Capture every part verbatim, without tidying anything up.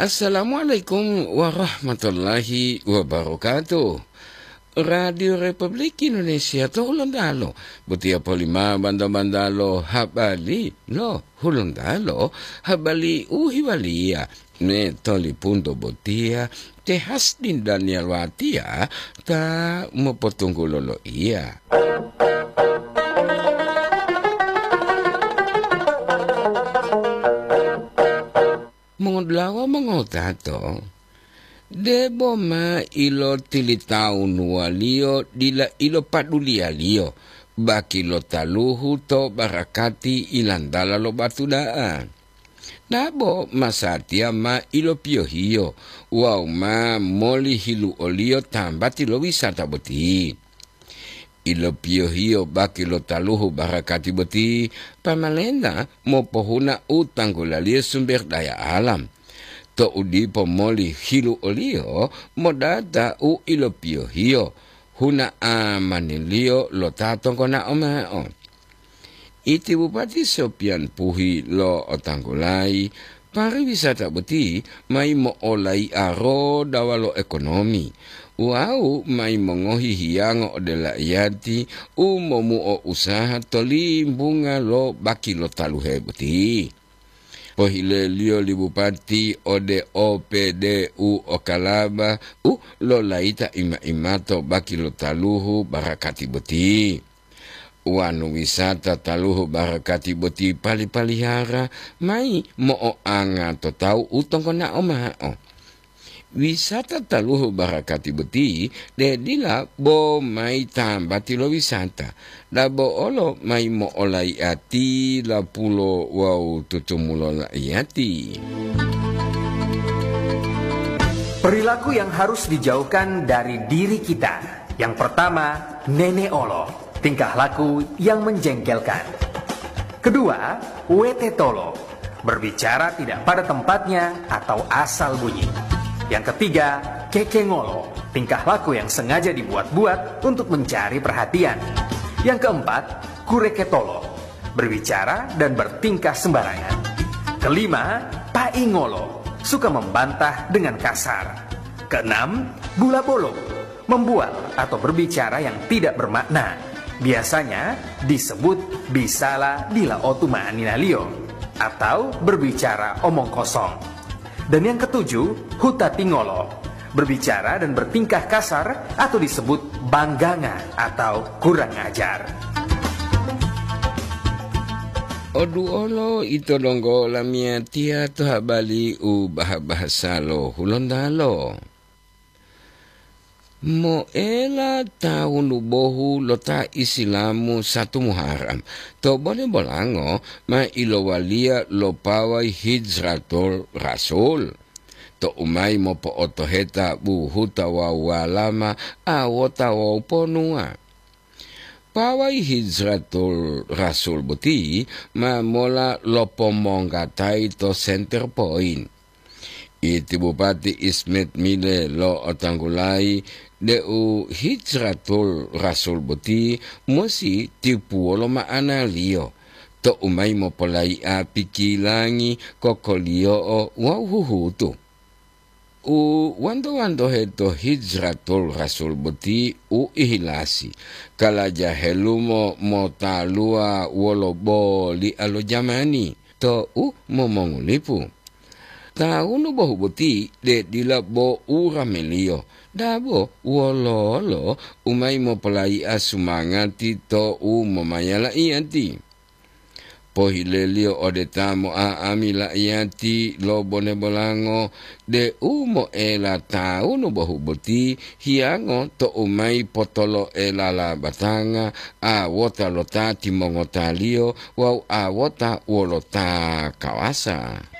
Assalamualaikum warahmatullahi wabarakatuh. Radio Republik Indonesia to Hulontalo, botiya polima banda-bandalo habari lo Hulontalo, habari u hiwaliya me tolipunto botiya te Hasdin Daniel Watiya ta mopotunggulo loiya. Mongodulawa mongotato, debo ma ilotilitawunuwaliyo dila ilopaduliyaliyo baki lo taluhu to barakati ilantala lo batu da'a. Dabo masatiya ma ilopiyohiyo wawu ma moli hiluoliyo tambati lo wisata boti. Ilopiyohiyo baki lo taluhu barakati boti, pamalenta mopohuna u tanggulaliyo sumber daya alam. To'u dipo moli hiluoliyo modata u ilopiyohiyo, huna amaniliyo lo ta tonggonao mao. Iti Bupati Sopian Puhi lo'otanggulayi, pariwisata boti mayi mo'olai'a rodawa lo ekonomi wawu mayi mongohi hiyango ode la'iyati u momuo usaha to limbunga lo baki lo taluhe boti. Pohileliyo li Bupati ode O P D U Okalaba u lolayita ima-imato baki lo taluhu barakati boti. Wonu wisata taluhu barakati boti pali-palihara mayi mo'oanga to tawu u tonggonao mao. Wisata taluhu barakati boti de dila bo mayi tambati lo wisata, dabo olo mayi mo'olai'ati lapulo wawu tutumulo la'iyati. Perilaku yang harus dijauhkan dari diri kita. Yang pertama, nene'olo. Tingkah laku yang menjengkelkan. Kedua, wetetolo. Berbicara tidak pada tempatnya atau asal bunyi. Yang ketiga, kekengolo. Tingkah laku yang sengaja dibuat-buat untuk mencari perhatian. Yang keempat, kureketolo. Berbicara dan bertingkah sembarangan. Kelima, paingolo. Suka membantah dengan kasar. Keenam, bulabolo. Membual atau berbicara yang tidak bermakna. Biasanya disebut bisala dila otu ma'aninaliyo atau berbicara omong kosong. Dan yang ketujuh, hutatingolo. Berbicara dan bertingkah kasar atau disebut bangganga atau kurang ajar. Oduolo ito donggo lamiyatiya to habari u bahasa-bahasa lo Hulontalo. Moela tawunu bohu lo ta Isilamu satu Muharram, to bone bolango ma ilowaliya lo pawai Hijratul Rasul, to umayi mopo'otoheta buhuta wawu walama awota wawu ponuwa. Pawai Hijratul Rasul boti ma mola lopomonggatayi to Center Point. Iti Bupati Ismet Mile lo'otanggulayi deu Hijratul Rasul boti musi tipuwolo ma'analiyo, to umayi mopolayi'a pikilangi, kokoliyo'o wawu huhutu. U wanto-wantohe to Hijratul Rasul boti u ihilasi, kalaja helumo motaluwa wolo boli'a lo jamani to u momongulipu. Tawunu bohu boti de dila bo u rameliyo, dabo wololo u mayi mopolayi'a sumangati to u momayala iyati. Pohileliyo ode ta mo'a'ami la'iyati lo bone bolango, de u moela tawunu bohu boti hiyango to u mayi potolo'elala batanga, awota lo ta timongotaliyo wawu awota wolo ta kawasa.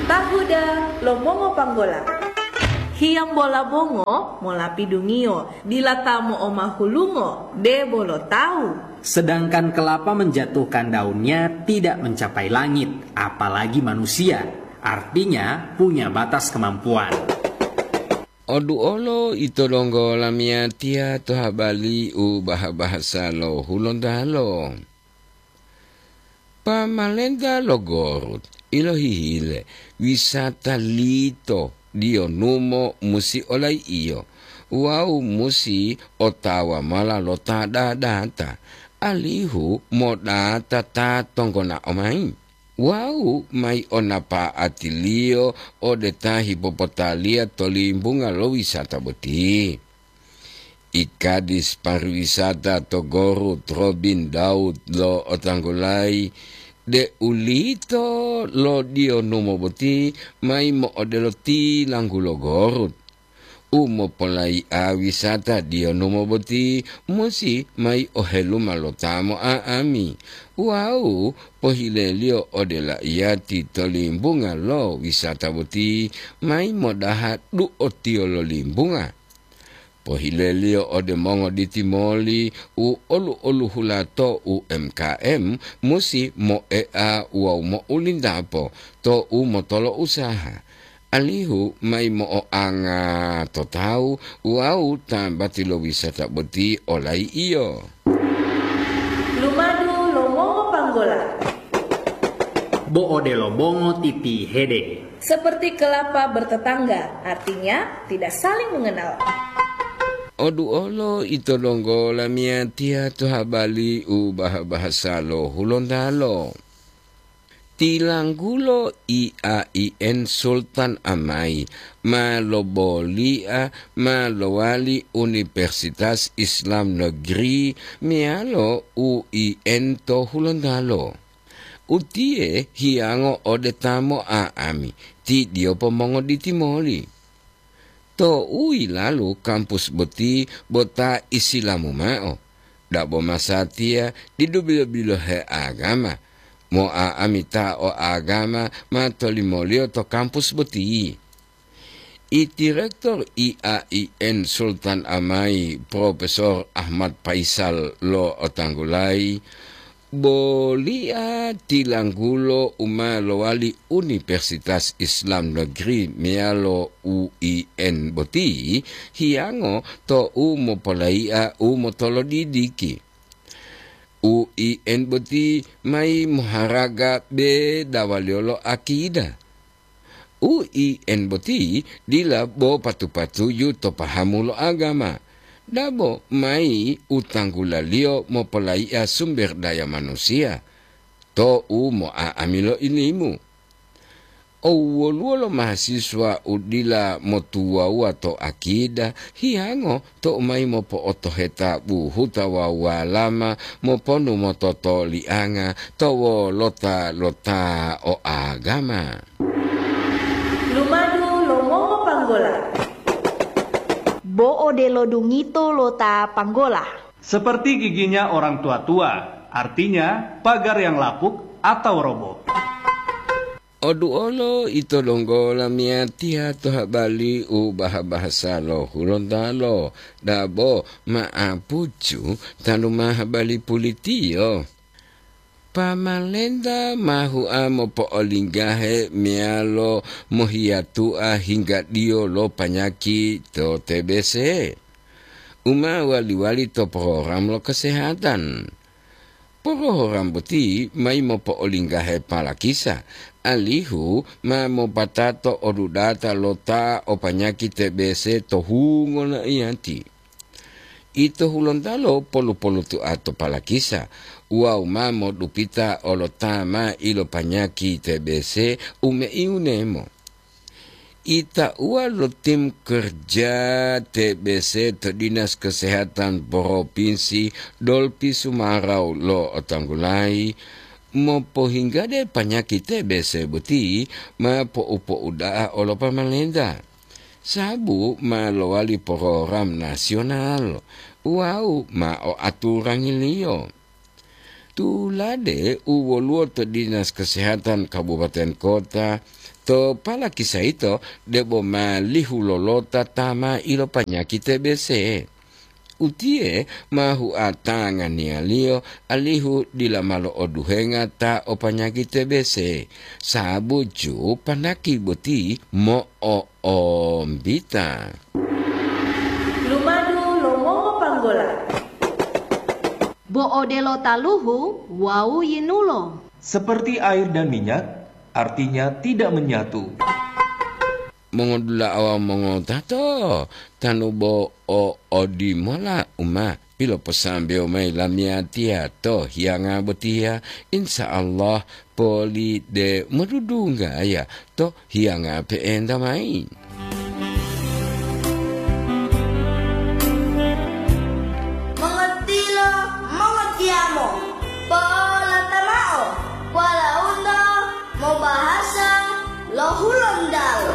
Tahuda lo mongopanggola. Hiyambola bongo molapidungiyo, dila ta mo'omahulungo, debo lo tawu. Sedangkan kelapa menjatuhkan daunnya tidak mencapai langit, apalagi manusia. Artinya, punya batas kemampuan. Oduolo ito donggo lamiyatiya to habari u baha-bahasa lo Hulontalo. Pamalenta lo Gorut ilohihile wisata lito diyonumo musi olai'iyo wawu musi otawa mola lo ta dadata, alihu modata ta tonggonao mayi wawu mayi o napa'atiliyo ode ta hipopotaliya to limbunga lo wisata boti. I Kadis pariwisata to Gorut, Robin Daud lo otanggulayi, de'ulito lo diyonumo boti mayi mo'odelo tilanggulo Gorut. U mopolai'a wisata diyonumo boti musi mayi oheluma lo ta mo'a'ami wawu pohileliyo ode laiyati to limbunga lo wisata boti mayi modaha du'otiyo lo limbunga. Pohileliyo ode mongoditi moli u olu-oluhula to U M K M musi moe'a wawu mo'ulindapo to u motolo usaha, alihu mayi mo'oanga to tawu wawu tambati lo wisata boti olai'iyo. Lumadu lo mongo panggola. Bo odelo bongo titihede. Seperti kelapa bertetangga, artinya tidak saling mengenal. Oduolo ito donggo lamiyatiya to habali u baha-bahasa lo Hulontalo. Tilanggulo I A I N Sultan Amai ma lobolia ma lowali Universitas Islam Negeri meyalo U I N to Hulontalo. Utiye hiyango ode ta mo'a'ami, ti diyopo mongoditi moli. To u yilalu kampus boti bo ta Isilamu mao, dabo masatiya didu bilo-bilohe agama, mo'a'ami ta o agama ma tolimoliyo to kampus boti. I Direktur I A I N Sultan Amai, Profesor Ahmad Faisal lo otanggulayi, bolia tilanggulo u ma lowali Universitas Islam Negeri meyalo U I N boti hiyango to u mopolaia u motolodidiki. U I N boti mayi moharaga bedawaliyo lo akida. U I N boti dila bo patu-patuju to pahamu lo agama, dabo mayi u tanggulaliyo mopolaia sumber daya manusiya to u mo'a'ami lo ilimu. O woluwo lo mahasiswa u dila motuwawuwa to akida, hiyango to u mayi mopo'otoheta buhuta wawu walama moponu mototolianga to wolota lo ta o agama. Lumadu lo mongopanggola. Bo odelo dungito lo ta panggola. Seperti giginya orang tua-tua, artinya pagar yang lapuk atau roboh. Oduolo ito donggo lamiyatiya to habali u baha-bahasa lo Hulontalo, dabo ma'apucu tanu ma habali pulitiyo. Pamalenta ma hua mopo'olinggahe meyalo mohiyatua hinggadiyo lo panyaki to T B C, u ma wali-wali to program lo kesehatan. Porohoram boti mayi mopo'olinggahe palakisa, alihu ma mopatato odudata lo ta o panyaki T B C to hungo naiyati. Ito Hulontalo polu-polutua to palakisa, wawu ma modupita olo ta ma ilopanyaki T B C u meiunemo. Itauwa lo tim kerja T B C to Dinas Kesehatan Provinsi Dolpi Sumarau lo otanggulayi, mopohinggade panyaki T B C boti ma po'u-po'uda'a olo pamalenta, sabu ma lowali program nasional wawu ma o aturangiliyo. Tulade u woluwo to Dinas Kesehatan Kabupaten Kota, to palakisa yito debo ma lihu lolota ta ma ilopanyaki T B C. Utiye ma hua tanganiyaliyo alihu dila ma lo'oduhenga ta o panyaki T B C, sabuju panaki boti mo'o- ombita. Lumadu lo mongopanggola. Bo odelo taluhu wawu yinulo. Seperti air dan minyak, artinya tidak menyatu. Mongodula'a wawu mongotato, tanu bo o odimola u ma piloposambewo mayi lamiyatiya to hiyanga botiya, insya Allah poli de modudunggaya to hiyanga pe'enta mayi. Mongotilo, mongotiyamo, polata mao, walaundo mobahasa lo Hulontalo.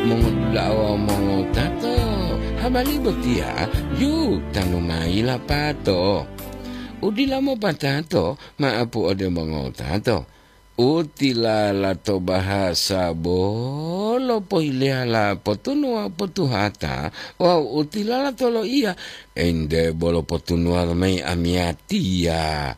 Mongodula'a wawu mongotato, habari botiya yu tanu mayi lapato. U dila mopatato, maapu ode mongotato. U tilala to bahasa bolo pohileyala potunuwa potuhata wawu u tilala to loiya, ente bolo potunuwa mayi amiyatiya.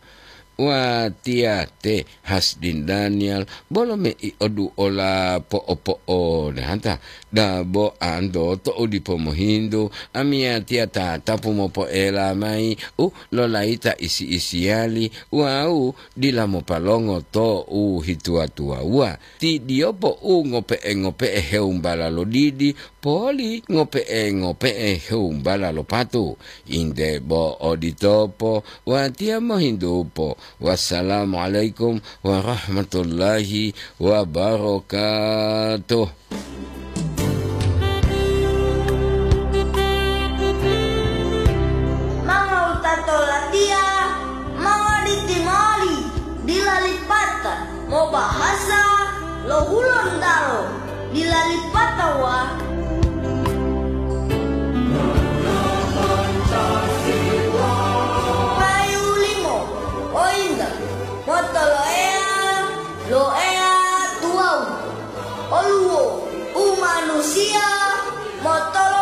Watiya te Hasdin Daniel bolo mei oduola po'opo'odata, dabo anto to'u dipo mohintu, amiyatiya tatapu mopoela mayi u lolayita isi-isiyali wawu dila mopalongo to u hituwa-tuwawuwa. Ti diyopo u ngope'e-ngope'e hewumbala lo didi, poli ngope'e-ngope'e hewumbala lo patu. Inde bo oditopo, watiya mohintupo. Wassalamualaikum warahmatullahi wabarakatuh. Mongowutato latiya, mongoditi moli, dila lipata mobahasa lo Hulontalo, dila lipata wa. Payu limo, o inta, motoloeya lo Eya tuwawu, oluwo u manusiya motolo